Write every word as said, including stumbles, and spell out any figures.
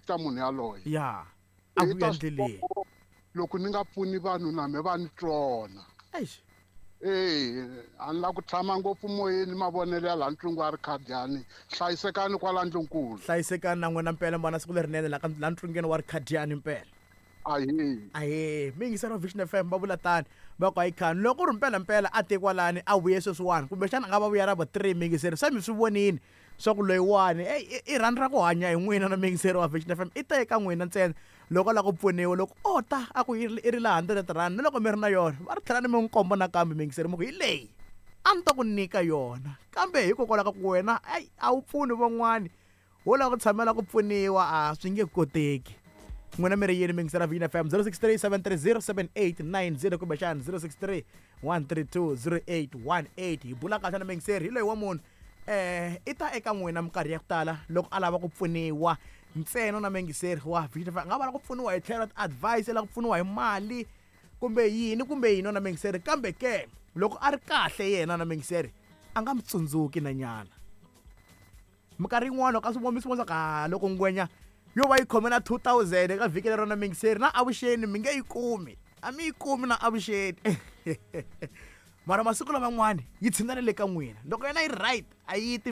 ta munhu yaloye. Ya, a I vuya ta swi ndleleni. vona loko ni nga pfuni vanhu na me va ni tsona. Eish. Eya, a ni la ku tshama ngopfu moyeni mavonelo ya laha ntlungu wa Rikhadiyani. Hlayisekani kwala ndlunkulu. Hlayisekani na n'wina mpela, mbana siku lerinene la ka la ntlungeni wa Rikhadiyani mpela. Ahee. Ahee, mi yingisela Vision F M va vula tani va ku ayikhani loko ku ri mpela mpela a te kwalani a vuye sweswiwani kumbexana a nga va vuya ra vu three miyingiseri se mi swi vonini swa ku loyiwani eyi i rhandza ku hanya hi n'wina na miyingiseri wa Vision F M i ta eka n'wina ntsena loko a lava ku pfuniwa loko o ta a ku i ri la hundred rand na loko mi ri na yona va ri tlhela ni mi n'wi komba nakambe miyingiseri mi ku hi leyi a ni ta ku nyika yona kambe hikokwalaho ka ku wena ayi a wu pfuni van'wani wo lava ku tshamela ku pfuniwa a swi nge koteki. N'wina mi ri yini miyingiseri Vision F M zero six three seven three zero seven eight nine zero kumbexana zero six three one three two zero eight one eight. Hi bula kahle na miyingiseri hi loyi wa munhu eh i ta eka n'wina minkarhi ya ku tala loko a lava ku pfuniwa ntsena na miyingiseri wa Vision F M. A nga va lava ku pfuniwa hi tlhelo ra ti-advice, lava ku pfuniwa hi mali kumbe yini kumbe yini na miyingiseri, kambe ke loko a ri kahle yena na miyingiseri a nga mi tsundzuki na nyana. Minkarhi yin'wana loko a swi vona mi swi vona swa ku, ah, loko ngwenya yo va yi khome na two thousand eka vhiki lero na miyingiseri na avuxeni mi nge yi kumi, a mi yi kumi na avuxeni. Mara masiku laman'wani yi tshinela le ka n'wina loko yena yi ri right a yi ti